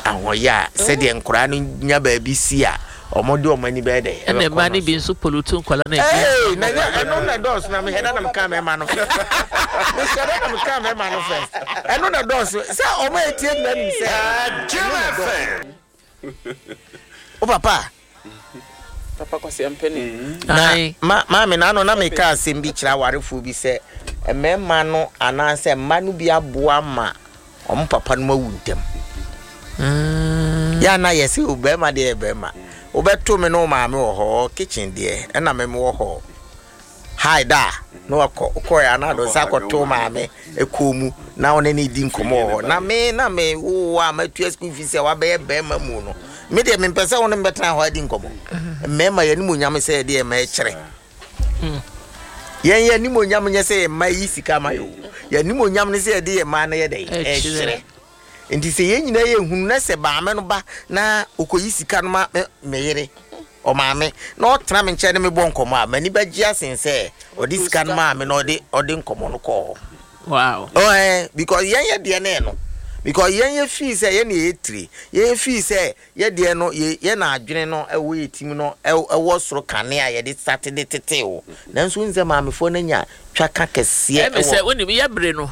Ahoɔyɛ a sɛdeɛ nkoraa no nya baabi si a wɔn de wɔn ani bɛyɛ dɛ. Ɛna mmaa no bi nso polutu nkwadaa no adi. Ee na nyɛ ɛno na ɛdɔɔso na mehwɛ dɛ na meka mmarima no first. Mehwɛ dɛ na meka mmarima no first. Ɛno na ɛdɔɔso sɛ wɔn a etie nyinaa nim sɛ ɛno na ɛdɔɔso. Wo papa. Papa Kwasi Ampene. Na ma maame na ano na meka asɛm bi kyerɛ awarefoɔ bi sɛ mmarima no anaasɛ mma no bi aboa ma wɔn papa no awu ntɛm. Mm. Yɛ na yɛsɛ o bɛrima deɛ yɛ bɛrima. Wobɛto me ne wo maame wɔ hɔ kitchen deɛ ɛna me wɔ hɔ. Hi da na wakɔ wokɔɛ a na ade nsa akɔto maame kɔn mu na wo ne no redi nkɔmmɔ wɔ hɔ na me na me wo a matua school fees a wabɛyɛ bɛrima mu no me deɛ mempɛ sɛ wo ne mbɛtena hɔ adi nkɔmmɔ mmarima yɛn animuonyam sɛ yɛde yɛn mma kyerɛ yɛn yɛn animuonyam nyɛ sɛ yɛn mma yi sika ma yɛ o yɛn animuonyam ne sɛ yɛde yɛn mma no yɛ dɛ ɛkyerɛ nti sɛ yɛn nyinaa yɛ hunu na sɛ maame no ba na ɔkɔyi sika no ma me yere Ɔmaame, na ɔtena me nkyɛn ne me bɔ nkɔmmɔ a, m'ani bɛgye asen sɛ ɔde sika no maa me na ɔde ɔde nkɔmmɔ no kɔɔ hɔ. Wow. Oh, eh, because yɛn yɛ deɛ no ɛno. Because yɛn yɛ fii sɛ yɛn na yɛ tire. Yɛn yɛ fii sɛ yɛ deɛ no yɛ yɛ na adwene no ɛwɔ yɛ tim no ɛwɔ soro kane a yɛde sate de tete o. Nanso wonim sɛ maamefoɔ no anya twaka kɛseɛ Ɛmi sɛ wonim yɛ bere no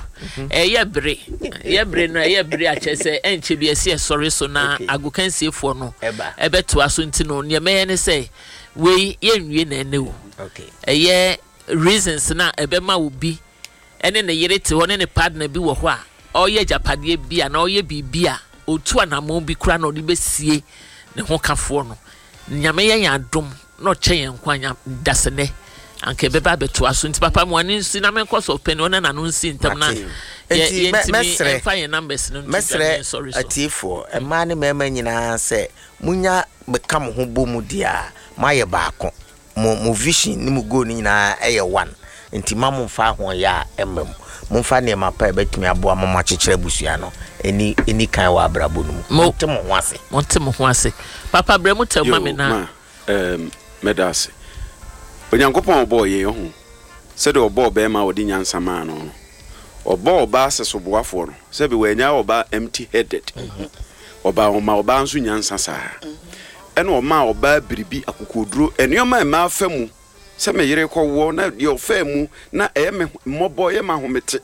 ɛyɛ bere yɛ bere no ɛyɛ bere akyɛ sɛ ɛnkyɛ bi ɛsi ɛsɔre so na agokansiefoɔ no ɛbɛtoa so nti no nea mɛyɛ ne sɛ wei yɛnwie na ɛnɛ o ɛyɛ reasons na ɛbɛma obi ɛne ne yere te hɔ ne ne partner bi wɔ hɔ a ɔyɛ agyapadeɛ bi a na ɔyɛ biribi a ɔtu anamɔn bi kora na ɔde bɛsie ne ho kafoɔ no Nyame yɛ yɛn adom na ɔkyɛ yɛn nkwa nya dasɛnɛ anka ɛbɛba abɛtoa so nti papa mo ani nsi na menkɔ sɔfo panin ɔne n'ano nsi ntam na yɛ yɛntumi mfa yɛn numbers no nto dwa na yɛnsɔre so. Mɛsrɛ atiefoɔ, mmaa ne mmarima nyinaa sɛ monya bɛka mo ho bɔ mu deɛ a, moayɛ baako. Mo mo vision ne mo goal no nyinaa yɛ one. Nti mma momfa ahoɔyaa mma mu. Momfa nneɛma pa a ɛbɛtumi aboa ma moakyekyere abusua no nni nni kan wɔ abrabɔ no mu. Monte mo ho ase. Monte mo ho ase. Papa brɛ mu tɛw ma me Yoo, na. ma, ɛɛm, mɛda ase. Onyankopɔn a ɔbɔɔ yɛn, ɔho, sɛdeɛ ɔbɔɔ barima a ɔde nyansa maa no no, ɔbɔɔ ɔbaa sɛsoboafoɔ no, sɛbe wannyaa ɔbaa empty headed. Ɔbaa, ɔmaa ɔbaa nso nyansa saa ara. Ɛna ɔmaa ɔbaa biribi, akokoɔduro, nneɛma a mmaa fa mu, sɛ me yere rekɔwoɔ na deɛ ɔfaa mu na ɛyɛ me mmɔbɔ, ɛyɛ me ahomete.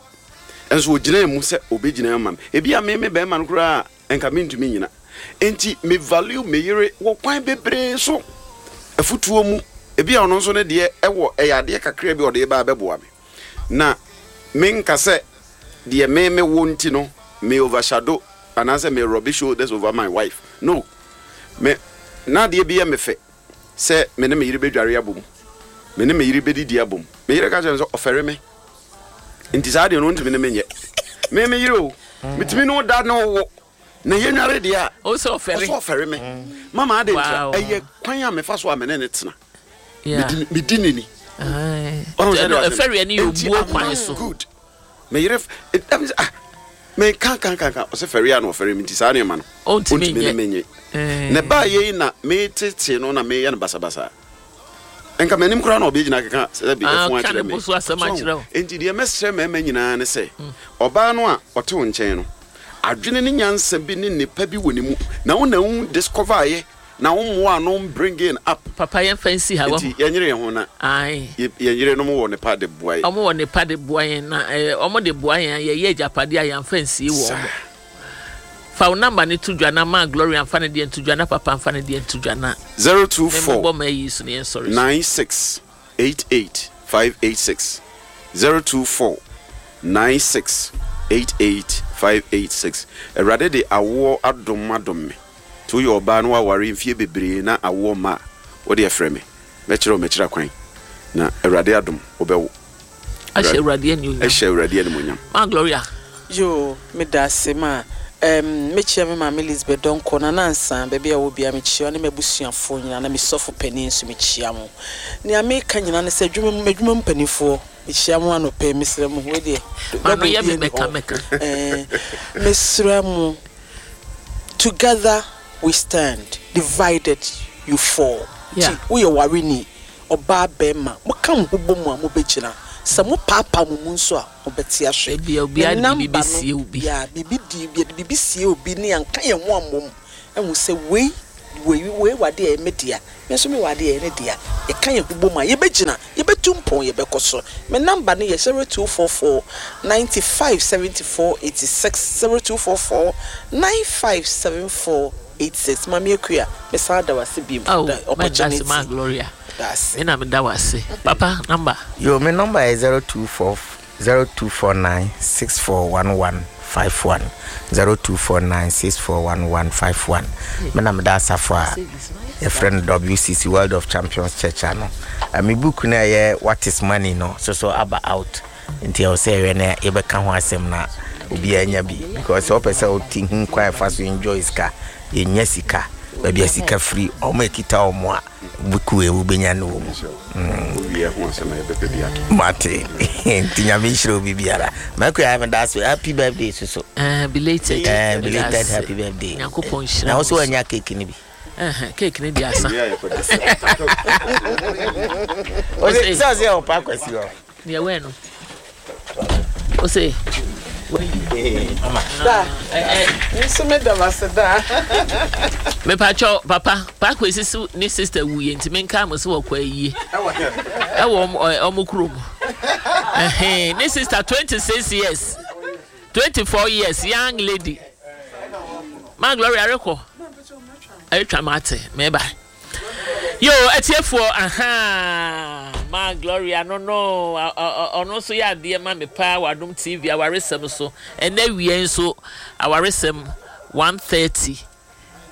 Nso ɔgyinaa mu sɛ ɔbɛgyina ama me. Ebia me me barima no koraa a, nka mentumi nnyina. Enti me value me yere wɔ kwan bebree so. Afutuo mu, ebia ɔno nso ne deɛ ɛwɔ ɛyɛ adeɛ kakra bi a ɔde reba abɛboa me. Na menka sɛ deɛ me mewɔ nti no me overshadow anaasɛ me rub shoulders over my wife. No. Me, na adeɛ bi yɛ me fɛ sɛ me ne me yere bɛdware abom, me ne me yere bɛdidi abom. Me yere ka kyerɛ me sɛ ɔfɛre me, nti saa adeɛ no ɔntumi ne me nyɛ. Me me yere o, metumi ne wo da ne wo wo, na yɛnware deɛ a, ɔsɛ ɔfɛre. Ɔsɛ ɔfɛre me. Mama adɛn ntira? Ɛyɛ kwan a mefa so a me ne ne tena. Medi ne ni. Ɛfɛreɛ no yɛ obuo kwan so. Good. Me yere ah me ka ka ka ka ɔsɛ fɛre a na ɔfɛre me nti saa nneɛma no ɔntumi ne me nye. Na ɛbaa yei na metete no na meyɛ no basabasa. Nka m'anim koraa na ɔbɛgyina keka sɛ bi ɛfo akyerɛ me. So enti deɛ mɛsrɛ mmarima nyinaa ne sɛ ɔbaa no a ɔte wo nkyɛn no adwene ne nyansa bi ne nnepa bi wɔ ne mu na wo na wo discover yɛ na wo mmoa ano bringing up. Papa yɛn fa nsi ha wahu. Nti yɛn nyere yɛn ho na. Ae. Yɛn yerenom wɔ nepa de boa yɛn. Ɔmo wɔ nepa de boa yɛn na ɛɛ ɔmo de boa yɛn a yɛyɛ agyapadeɛ a yɛn fa nsie wɔ ɔmo. Fa wo number no to dwa na ma Gloria nfa ne deɛ nto dwa na papa nfa ne deɛ nto dwa na. 024 Memmobɔ m'ayi so na yɛn sɔre so. 96 88 586 024 96 88 586 Awurade de awoɔ adom adom me. Nti woyɛ ɔbaa na woaware mfie bebree na awoɔ mma a, wo deɛ frɛ me, mɛkyerɛ wo m'akyiri akwan, na Awurade adom wobɛwo. Ahyɛ Awurade animuonyam. Ahyɛ Awurade animuonyam. Ma Gloria. Yoo medase ma. Erm mɛkyia me maame Lisbeth Donkor, Nana Ansah, baabi a ɔwɔ biara mekyia ɔne m'abusuafoɔ nyinaa na me sɔfo panin nso mekyia mo. Nea meka nyinaa ne sɛ adwuma mu m'adwuma mu mpaninfoɔ mekyia mo anɔpa yi mesrɛ mo wei deɛ M'ano double yɛ me biara nni mɛka hɔ mɛka. ɛɛ mesrɛ mo together we stand divided you fall Yeah. nti woyɛ wareni ɔbaa bɛɛma moka mo ho bɔ mu a mobɛgyina sɛ mo paapaa mo mu nso a Wɔbɛte ahwɛ. Ebia Ne obiara de biribi number no, bɛsie obi. yeah, biribi di, yɛde biribi sie obi ne yɛanka yɛn ho ammom ahu sɛ wei, wei, wei wɔ adeɛ a ɛyɛ me dea, me nso mewɔ adeɛ a ɛyɛ ne dea. Yɛka yɛn ho bom a, yɛbɛgyina, yɛbɛtu mpɔn, yɛbɛkɔ so. Me number no yɛ 0244 95 74 86, 0244 95 74 86. Maame Akua, mesan da wo ase bio for Oh, the mɛnda ase opportunity. ma Gloria. Da ase. Me na meda wo ase. Papa, number. Yo, me number yɛ 024 0249 6411 51 0249 6411 51. Me na meda asafo a yɛfrɛ no WCC World of Champions Church ano. Eh, me book no a ɛyɛ What is Money no so so aba out. Nti ɛwɔ sɛ yɛhwɛ na yɛbɛka ho asɛm na obiara nya bi because sɛ wopɛ sɛ wote hu kwan ɛfa so enjoy sika, yɛnya sika, baabi a sika firi, wɔn a ɛkita wɔn a Book wei wobɛnya no wɔ mu. Mate. Nti nyame nhyira obi biara. Makua meda ase. Happy birthday soso. Eh, belated. Eh, belated happy birthday. Nyankopɔn nhyira. Na wo so wanya cake ni bi. Eh, cake ni di asa. Ose, sɛ ɔsɛ ɔpa kwasi hɔ. Deɛ wɛn no. Ose. Da. Nso me da wase da. Mepakyɛw papa paako esisi ne sister wu yɛ nti menka mo sɛ wɔkɔ ayie ɛwɔ ɔmo kurom ne sister 26 years 24 years young lady ma Gloria rekɔ ɛretwa mate meba. Yo atiefoɔ ahaa ma Gloria no no ɔno nso yɛ adeɛ ma me paa wɔ Adom TV awaresɛm so ɛnɛ awia yi nso awaresɛm 1:30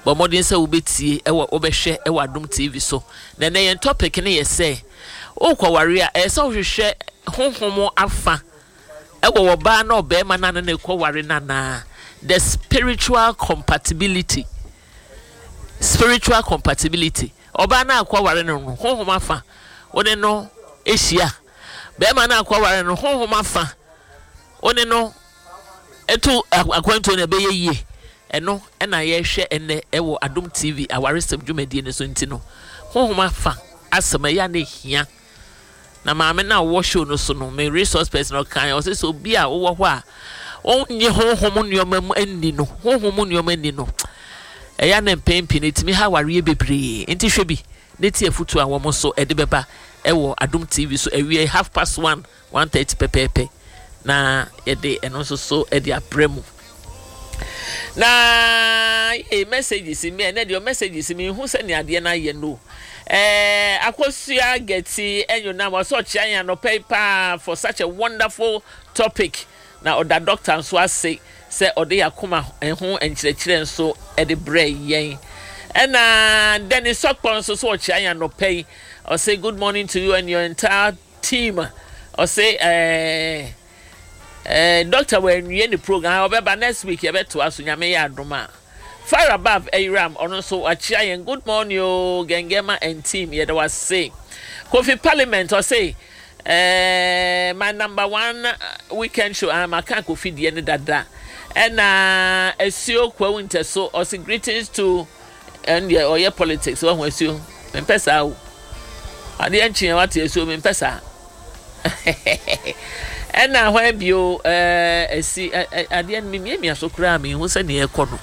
bɔ mmɔden sɛ wobɛtie ɛwɔ wobɛhwɛ ɛwɔ Adom TV so na ɛnɛ yɛn topic no yɛ sɛ wokɔware a ɛyɛ sɛ wohwehwɛ honhom afa ɛwɔ ɔbaa na ɔbarima no a ne ne kɔware no anaa the spiritual compatibility Spiritual compatibility, Ɔbaa no a akɔware no no, honhom afa, wo ne no hyia. Barima no a akɔware no, honhom afa, wo ne no to akwantuo no ɛbɛyɛ yie. Ɛno na yɛhwɛ ɛnnɛ ɛwɔ Adom TV awaresɛm dwumadie no so nti no, honhom afa asɛm ɛyɛ a na ɛhia. Na maame no a ɔwɔ show no so no, me resource person, ɔkae, ɔse sɛ obi a wowɔ hɔ a ɔnnye honhom nneɛma mu nni no, honhom mu nneɛma nni no, ɛyɛ a na mpɛn pii no ɛtumi ha awareɛ bebree. Nti hwɛ bi na tie afotuo a wɔn nso ɛde bɛba ɛwɔ Adom TV so awia yi 1:30, 1:30 pɛpɛɛpɛ na yɛde ɛno nso so de abrɛ mu. Na yee messages mi ɛnɛ deɛ messages mi nhu sɛ nea adeɛ no ayɛ no ɛɛ Akosua Gɛti ɛnyonam ɔsɛ ɔkyea yɛn anɔpa yi paa for such a wonderful topic na ɔda doctor nso ase sɛ ɔde yɛn akoma ho nkyerɛkyerɛ nso ɛde brɛ yɛn ɛna Dennis Sɔkpɔ nso so ɔkyea yɛn anɔpa yi ɔsɛ good morning to you and your entire team ɔsɛ ɛɛ. Eh doctor wanwie ne program ah ɔbɛba next week yɛbɛtoa so Nyame yɛ adom a. Far above Ayiram ɔno nso wakyea yɛn good morning oo Gengema and team yɛda wase. Kofi Parliament ɔse eh my number one weekend show ah maka Kofi deɛ no dada. Ɛna Asuo Kwawu Ntɛso ɔse greetings to ɛn deɛ ɔyɛ politics wahu Asuo mempɛ saa o adeɛ nkyeɛ wate Asuo mempɛ saa. Ɛna hwan bio ɛɛ ɛsi adeɛ no memiamia so koraa menhu sɛdeɛ ɛkɔ no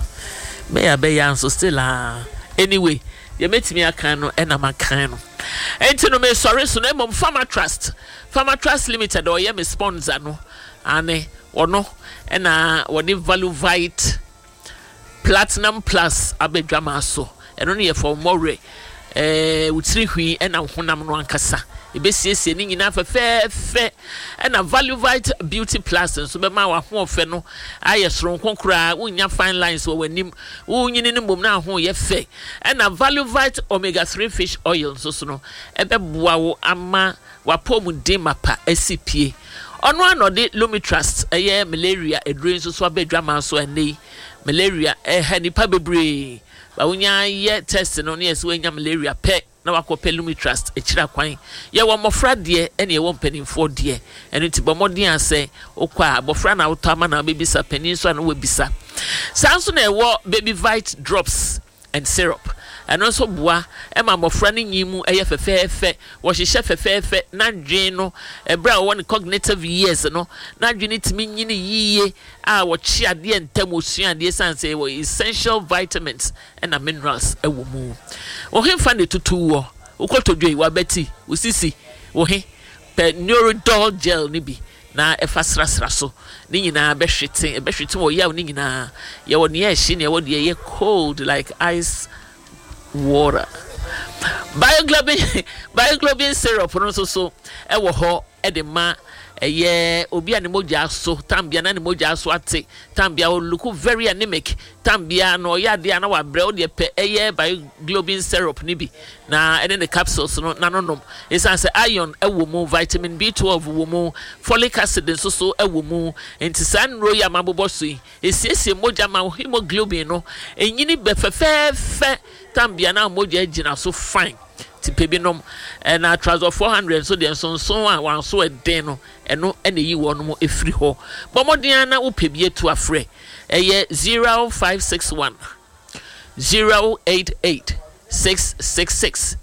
bɛyɛ abɛyɛ nso still aa anyway deɛ mɛtumi akan no ɛna makan no ɛnti no mesɔre so na mmom Farmer Trust Farmer Trust Limited ɔyɛ me sponsor no ane ɔno ɛna wɔde Value Vite Platinum Plus aba adwamaa so. Ɛno no yɛ for mmɔwerɛ, ɛɛ wo tiri hwi ɛna wo honam no ankasa. Ɛbɛsiesie ne nyinaa fɛfɛɛfɛ. Ɛna Valuvite Beauty Plus nso bɛma w'ahoɔfɛ no ayɛ soronko koraa. Wonnya fine lines wɔ w'anim. Wonyini no mmom na ho yɛ fɛ. Ɛna Valuvite Omega 3 Fish Oil nso so no, ɛbɛboa wo ama w'apɔwmuden mapa asi pie. Ɔno ara na ɔde Lumitrust, ɛyɛ malaria aduro yi nso so aba adwaman so ɛnnɛ yi. Malaria ɛha nnipa bebree. Ba wonya yɛ test no na yɛsɛ woanya malaria pɛ na wakɔpɛ Lumitrust akyiri akwan. Yɛwɔ mmɔfra deɛ ɛne yɛwɔ mpanimfoɔ deɛ. Ɛno nti bɔ mmɔden a sɛ wokɔ a abɔfra na wotɔ ama na wobɛbisa, panin nso a na wabisa. Saa nso na ɛwɔ Baby Vite drops and syrup. Ɛno nso boa ma mmɔfra no nyin mu yɛ fɛfɛɛfɛ, wɔhyehyɛ fɛfɛɛfɛ, n'adwene no, ɛberɛ a ɔwɔ ne cognitive years no, n'adwene no tumi nyini yiye a wɔkye adeɛ ntɛm, wɔsua adeɛ ɛsiane sɛ ɛwɔ essential vitamins na minerals wɔ mu. Wo hefa na ɛtutu woɔ? Wo kotodwe, w'abati, wo sisi, wo he? Pɛ Neurodol gel no bi na fa srasra so. Ne nyinaa bɛhwete, ɛbɛhwete wɔ yaw no nyinaa. Yɛwɔ nea ɛhye na yɛwɔ deɛ ɛyɛ cold like ice water. Bioglobin, bioglobin syrup no nso so ɛwɔ hɔ de ma ɛyɛ obi a ne mogya so tambea na ne mogya so ate tambea o look very anemic tambea na ɔyɛ adeɛ a na wabrɛ wo deɛ pɛ ɛyɛ bioglobin syrup no bi na ɛne ne capsules no na no nom ɛsiane sɛ iron wɔ mu vitamin B12 wɔ mu folic acid nso so wɔ mu nti saa nnuro yi a mabobɔ so yi ɛsiesie mogya ma hemoglobin no ɛnyini bɛ fɛfɛɛfɛ tambea na mogya gyina so fine nti pɛ bi nom ɛna trazol 400 nso deɛ nsonson a wanso ɛden no ɛno ɛna ɛyi wɔn mo ɛfiri hɔ bɔ mmɔden ara na wopɛ bi atu afrɛ ɛyɛ 0561 088 666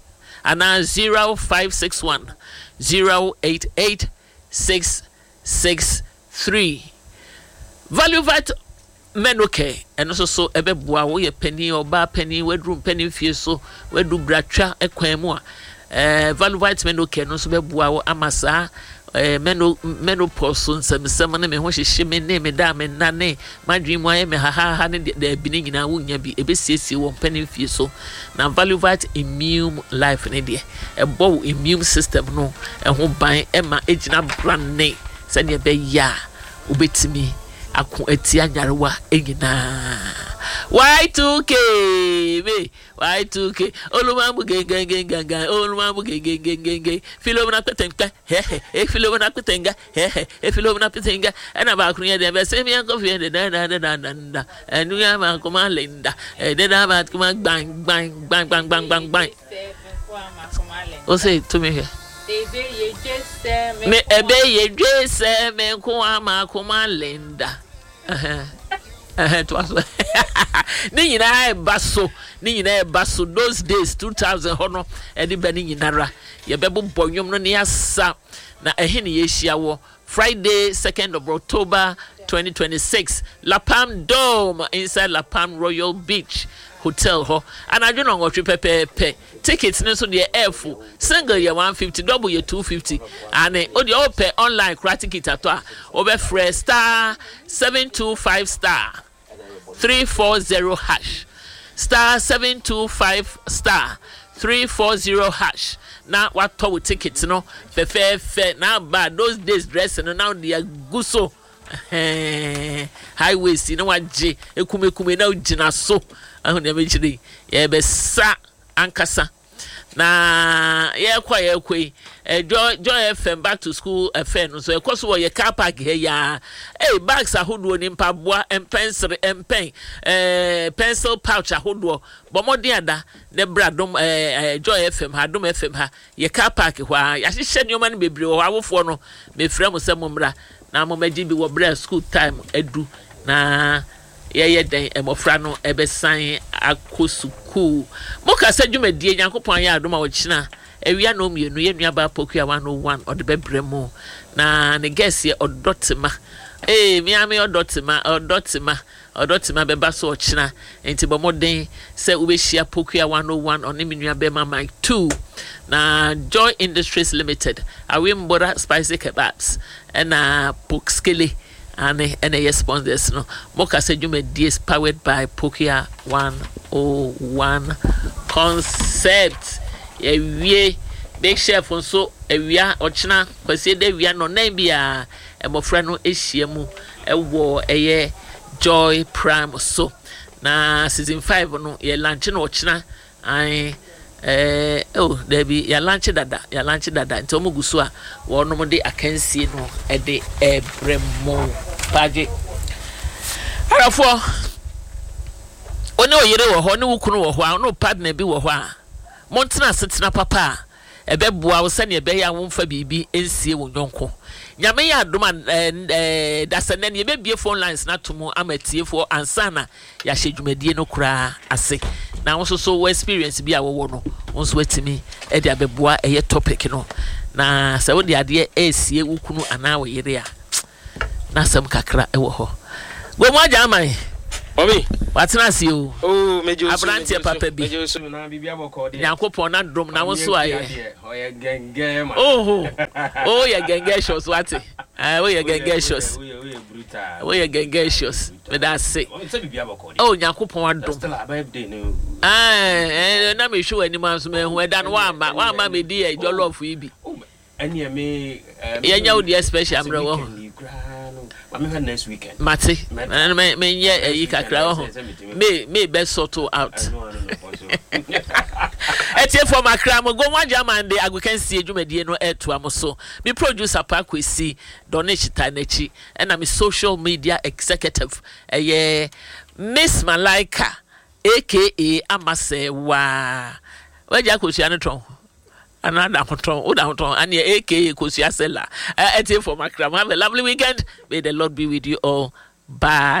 anaa 0561 088 663 Valuvite Menocare ɛno nso so ɛbɛboa wo yɛ panin ɔbaa panin waduru mpanin fie so waduru bratwa kwan mu a ɛɛ Valuvite Menocare no nso bɛboa wo ama saa ɛɛ meno menopause so nsɛmnsɛm ne me ho hyehye me ne me da a me nna ne m'adwene mu ayɛ me hahaha ne deɛ daabi ne nyinaa wonnya bi ɛbɛsiesie wɔ mpanin fie so na Valuvite Immune Life ne deɛ ɛbɔ wo immune system no ɛho ban ɛma ɛgyina brane sɛdeɛ ɛbɛyɛ a wobɛtumi ako atia nyarewa nyinaa. Y2K me Y2K olumamu gengengengangan olumamu gengengengenge filomena kpɛtɛnkpɛ hɛhɛ efilomena kpɛtɛnga hɛhɛ efilomena kpɛtɛnga ɛna baako yɛ deɛ bɛsɛ mi ɛnkɔ fie de dɛdɛdɛdɛdɛda ɛnuya baako ma linda ɛdɛdɛ baako ma gban gban gban gban gban gban gban. Ose tumi hwɛ. Me ebe ye dwe sɛ me nko ama koma Linda. Ɛhɛn to aso. Ne nyinaa ɛba so. Ne nyinaa ɛba so. Those days 2000 hɔ no ɛde bɛ ne nyinara. Yɛbɛbobɔ nnwom no ne asa. Na ɛhe ne yɛhyia wɔ Friday 2nd of October 2026 La Palm Dome inside La Palm Royal Beach Hotel hɔ anadwo nnɔnwɔtwe pɛpɛɛpɛ. Tickets no nso deɛ ɛɛfo. Single yɛ 150, double yɛ 250. Aane, wo deɛ wopɛ online koraa ticket atɔ a, wobɛfrɛ star 725 star 340 hash, star 725 star 340 hash na watɔ wo ticket no fɛfɛɛfɛ na aba those days dress no na wode agu so ɛhɛn high waist na wagye ekumekume na wogyina so ahu nea mekyerɛ yi yɛbɛsa ankasa na yɛkɔ a yɛkɔ yi eh, Joy, Joy FM back to school affair no nso ɛkɔ so wɔ yɛ car park ha yi ara hey, bags ahodoɔ ni mpaboa mpɛnsere mpɛn eh, pencil pouch ahodoɔ bɔ mmɔden ada na bra dom eh, eh, Joy FM ha Dom FM ha yɛ car park hɔ ara yɛahyehyɛ nneɛma no bebree wɔ hɔ awofoɔ no mefrɛ mo sɛ mommra na mommɛgye bi wɔ berɛ a school time adu na Yɛyɛ dɛn mmɔfra no bɛsan akɔ sukuu? Mo kasa dwumadie Nyankopɔn ayɛ adom a ɔkyena awia nnɔnmienu yɛn nua baa Pokuya 101 ɔde bɛbrɛ mo na ne guest yɛ Ɔdɔ Tema ee me ara me Ɔdɔ Tema Ɔdɔ Tema Ɔdɔ Tema bɛba so ɔkyena nti bɔ mmɔden sɛ wobɛhyia Pokuya 101 ɔne me nua bɛma Mike 2 na Joy Industries Limited Awembora Spicy Kebabs ɛna Pokskele Aane ɛna ɛyɛ sponsors no. Mo kasa dwumadie is powered by Pokia 101 Concept. Yɛawie Big Chef nso awia ɔkyena Kwasiada awia nnɔnan biara mmɔfra no ahyia mu wɔ ɛyɛ Joy Prime so. Na season 5 no yɛ lanche no ɔkyena Ae eh oh daabi yɛalankye dada yɛalankye dada nti wɔn gu so a wɔnom de akansie no de ɛrebrɛ mo paagye arafoɔ. Wo ne wo yere wɔ hɔ, ne wo kunu wɔ hɔ a, wo ne wo partner bi wɔ hɔ a, montena asetena papa a ɛbɛboa wo sɛnea ɛbɛyɛ a womfa biribi nsie wo yɔnko. Nyame yɛ adom a, ɛɛ, dasɛ nnɛ no yɛbɛbue phone lines no ato mu ama atiefoɔ ansa na yɛahyɛ dwumadie no koraa ase. Na wo nso so wo experience bi a wowɔ no, wo nso atumi de abɛboa ɛyɛ topic no. Na sɛ wode adeɛ ɛresie wo kunu anaa wo yere a, n'asɛm kakra wɔ hɔ. Gomu agya aman. Obi. Watena ase o. Oh, meje osu. Aberanteɛ papa bi. Meje osu na biribi abɔkɔ deɛ. Nyankopɔn n'adom na wo nso ayɛ. Ɔyɛ gɛngɛn ma. Oho. Oh, yɛ gɛngɛcious wate. Eh, woyɛ gɛngɛcious. Woyɛ brutal. Woyɛ gɛngɛcious. Meda ase. Sɛ biribi abɔkɔ deɛ. Oh, Nyankopɔn adom. Still a birthday no. Eh, eh, na mehwɛ w'anim anso mahu ɛda no woamma. Woamma medi yɛ jollof yi bi. Ɛneɛ me eh, Yɛnyɛ wo deɛ special sɛ mmerɛ wɔ ho. weekend yi koraa no ma mehwɛ next weekend. Mate. Mɛtra. Me me menyɛ Next ɛyi weekend kakra wɔ sɛ ho. sɛ metumi kɔ. May May bɛ sort wo out. Ɛno ano na ɔkɔ so. Atiefoɔ makra mo Gomu Agyeman de agokansie dwumadie no ɛretoa mo so. Me producer Pa Kwesi Donish taa n'akyi ɛna me social media executive ɛyɛ Miss Malaika aka Amasɛɛwaa. W'agya akosua no tɔn. Anaa da ho tɔn, wo da ho tɔn, aneɛ aka Kosua Sella. Atiefoɔ makra mo, have a lovely weekend, may the Lord be with you all, bye.